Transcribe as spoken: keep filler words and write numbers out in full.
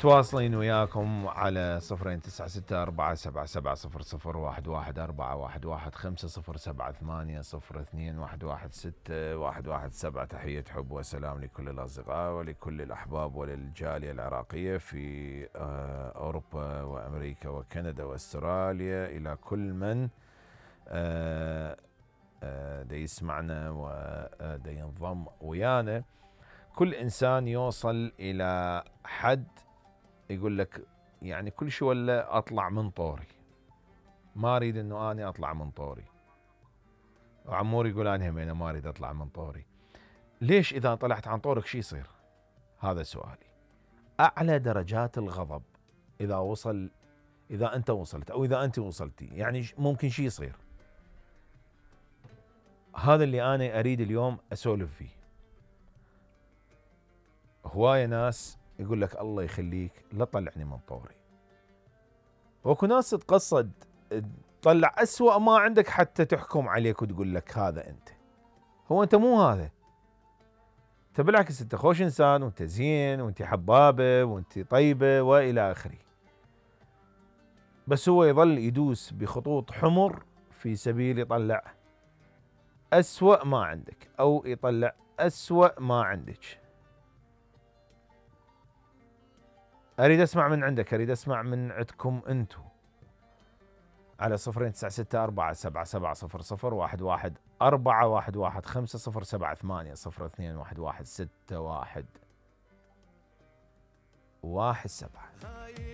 متواصلين وياكم على صفرين تسعة ستة أربعة سبعة سبعة صفر صفر واحد واحد أربعة واحد واحد خمسة صفر سبعة ثمانية صفر اثنين واحد واحد ستة واحد واحد سبعة. تحية حب وسلام لكل الأصدقاء ولكل الأحباب وللجالية العراقية في أوروبا وأمريكا وكندا وأستراليا، إلى كل من دا يسمعنا ودا ينضم ويانا. كل إنسان يوصل إلى حد يقول لك يعني كل شيء ولا أطلع من طوري، ما أريد أنه أنا أطلع من طوري. وعمور يقول أنا همينة ما أريد أطلع من طوري. ليش إذا طلعت عن طورك شي يصير؟ هذا سؤالي. أعلى درجات الغضب إذا وصل، إذا أنت وصلت أو إذا أنت وصلتي، يعني ممكن شي يصير. هذا اللي أنا أريد اليوم أسولف فيه. هواية ناس يقول لك الله يخليك لا تطلعني من طوري، وكو ناس تقصد تطلع أسوأ ما عندك حتى تحكم عليك وتقول لك هذا أنت. هو أنت مو هذا، أنت بالعكس أنت خوش إنسان وأنت زين وأنت حبابة وأنت طيبة وإلى آخره، بس هو يظل يدوس بخطوط حمر في سبيل يطلع أسوأ ما عندك أو يطلع أسوأ ما عندك. أريد أسمع من عندك، أريد أسمع من عندكم أنتو على صفرين تسعة ستة أربعة سبعة سبعة صفر صفر واحد واحد أربعة واحد واحد خمسة صفر سبعة ثمانية صفر اثنين واحد واحد ستة واحد واحد سبعة.